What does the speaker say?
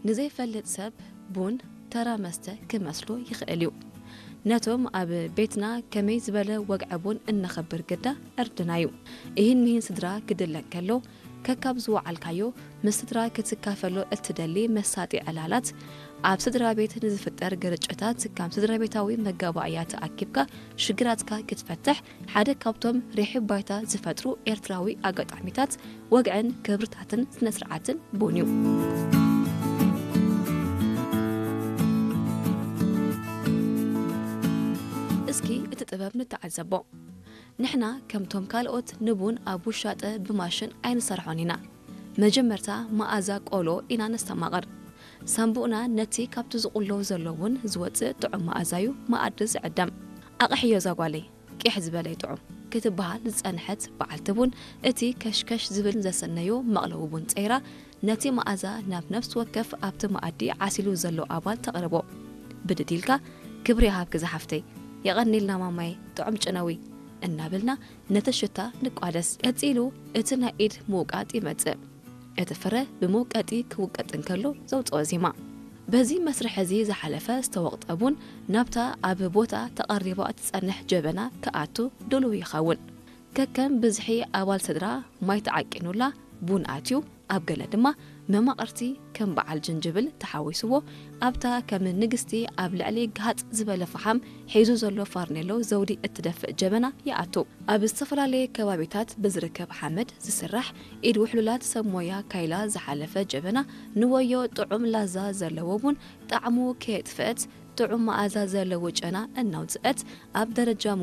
ንዘይፈልጥ ሰብ ቡን ተራ መስተ ክመስሎ ይኽእል እዩ። ነቶም ኣብ ቤትና ከመይ ዝበለ ወግዒ ቡን እነኸብር ግዳ ዕርድና እዩ። ይህን ምሂን ስድራ ክድለ ከሎ፣ ከካብ ዝወዓልካዮ ምስ ስድራ ክትካፈሎ እትደሊ መሳጢ ዕላላት፣ ኣብ ስድራ ቤት ንዝፍጠር ግርጭታት ከም ስድራ ቤታዊ መጋባእያ ተኣኪብካ ሽግራትካ ክትፈትሕ ሓደ ካብቶም ርሒብ ባይታ ዝፈጥሩ ኤርትራዊ ኣጋጣሚታት፣ ወግዕን ክብርታትን ስነ ስርዓትን ቡን እዩ። እስኪ እቲ ጥበብ ንተዓዘቦ። ንሕና ከምቶም ካልኦት ንቡን ኣብ ውሻጠ ብማሽን ኣይንሰርሖን ኢና። መጀመርታ መኣዛ ቆሎ ኢና ነስተማቕር። ሳምቡእና ነቲ ካብቲ ዝቑሎ ዘሎ ቡን ዝወጽእ ጥዑም መኣዛዩ መኣዲ ዝዕደም። ኣቕሕዮ እዛ ጓለይ፣ ቂሕ ዝበለ ይጥዑም ክትበሃል ዝጸንሐት በዓልቲ ቡን፣ እቲ ከሽከሽ ዝብል ዘሰነዮ መቕለዊ ቡን ጸይራ፣ ነቲ መኣዛ ናብ ነፍሲ ወከፍ ኣብቲ መኣዲ ዓሲሉ ዘሎ ኣባል ተቕርቦ። ብድድ ኢልካ፣ "ክብሪ ይሃብኪ ዝሓፍተይ፣ የቐኒልና ማማይ፣ ጥዑም ጨነዊ" እናበልና ነቲ ሽታ ንቋደስ። ቀጺሉ እቲ ናይ ኢድ ምውቃጥ ይመጽእ። እቲ ፍረ ብመውቀጢ ክውቀጥ እንከሎ ዘውጽኦ ዜማ። በዚ መስርሕ እዚ ዝሓለፈ ዝተወቕጠ ቡን ናብታ ኣብ ቦታ ተቐሪባ እትጸንሕ ጀበና ክኣቱ ድሉው ይኸውን። ከከም ብዝሒ ኣባል ስድራ ማይ ተዓቂኑላ ቡን ኣትዩ፣ ኣብ ገለ ድማ መማቕርቲ ከም በዓል ጅንጅብል ተሓዊስዎ ኣብታ ከም ንግስቲ ኣብ ልዕሊ ግሃጽ ዝበለ ፈሓም ሒዙ ዘሎ ፋርኔሎ ዘውዲ እትደፍእ ጀበና ይኣቱ። ኣብ ዝተፈላለየ ከባቢታት ብዝርከብ ሓመድ ዝስራሕ ኢድ ውሕሉላት ሰብ ሞያ ካይላ ዝሓለፈ ጀበና ንወዮ ጥዑም ላዛ ዘለዎ ቡን ጣዕሙ ከየጥፍአት ጥዑም መኣዛ ዘለዎ ጨና እናውፅአት ኣብ ደረጃ